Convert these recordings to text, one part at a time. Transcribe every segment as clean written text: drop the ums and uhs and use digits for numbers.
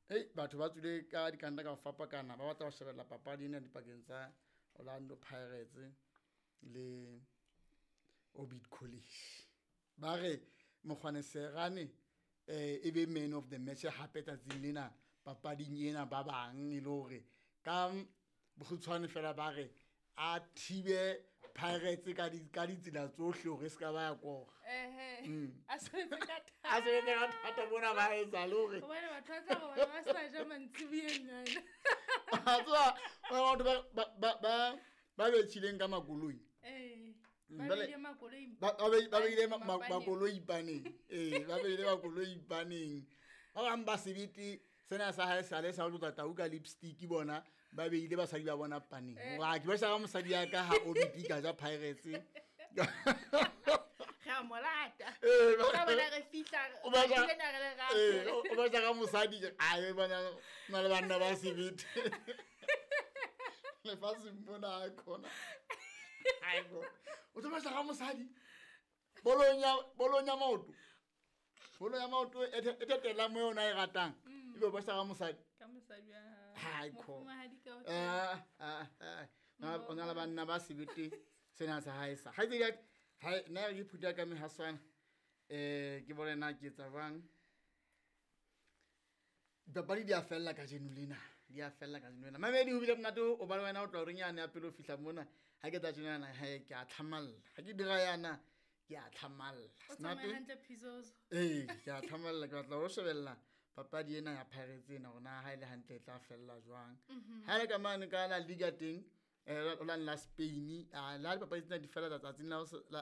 Ei, batho ba tswile ka dikanta ka ho fapakana, ba batla ho shebella papadi ena dipakeng tsa Orlando Pirates le Orbit College. Ba re Mokgwane Serane e be man of the match hape tsatsing lena papading ena ba bang e le hore ka bokgutshwane fela ba re a thibe Pirates ka ditsela tsohle hore e se ka ba ya kora. A sebetse ka thata. A sebetse ka thata bona ba etsa le hore. Hobane batho ba tla robala ba sa ja mantsiboyeng ana. A tseba, batho ba betjhileng ka makoloi. Ba beile makoloi. Ba beile makoloi paneng. Ba beile makoloi paneng. Ba bang ba sebete sena sa hae sale sa ho tlotsa tau ka lipstick bona ba beile basadi ba bona paneng. Hore ke ba shaka mosadi ya ka ha OBP ka ja Pirates. Re a mo lata. Ka bona re fihla, O re ile na re le rata. O ba shaka mosadi, a e bona na le banna ba sebete. Lefatsheng mona a khona. Haebo. O tlo ba shaka mosadi. Bolong ya maoto. Bolo ya maoto e tetela mo yona e ratang. Ebe o ba shaka mosadi. Ka mosadi wa hao. Hai, kho. Mofumahadi ka o O na le banna ba sebete sena sa hae sa. Kgaitsedi ya ka, hai, nna re ke phutha ka mehaswana. Ke bone na ke etsa jwang. Dipapadi di a fella kajeno lena. Di a fella kajeno lena. Mamedi, ho bile monate ho ba le wena ho tloha horeng yane ya pele ho fihla mona. Ha ke tla tjena yana, he, ke a tlhamalla. Ha ke dira yana, ke a tlhamalla. O tsamaya hantle, Phizozo. Ee, ke a tlhamalla. Ke batla ho shebella papadi ena ya Pirates ena hore na ha e le hantle e tla fella jwang. Ha e le ka mane ka la Liga teng, o la Spain, la dipapadi tsena di fela tsatsing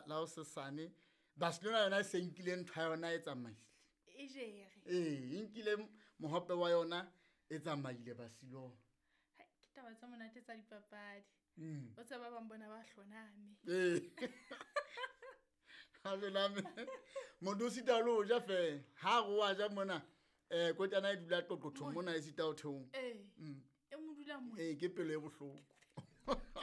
la ho sesane. Barcelona yona e se nkile ntho ya yona e tsamaile. E jere. Ee, e nkile mohope wa yona e tsamaile Barcelona. Hai, ke taba tsa monate tsa dipapadi. O tseba ba bang bona ba hloname. Ee. Ha hloname. Motho o sita le ho ja feela. Ha re wa ja mona, kotjana e dula qoqothong mona e sita ho theoha. Ee. E mo dula mona. Ee, ke pelo e bohloko.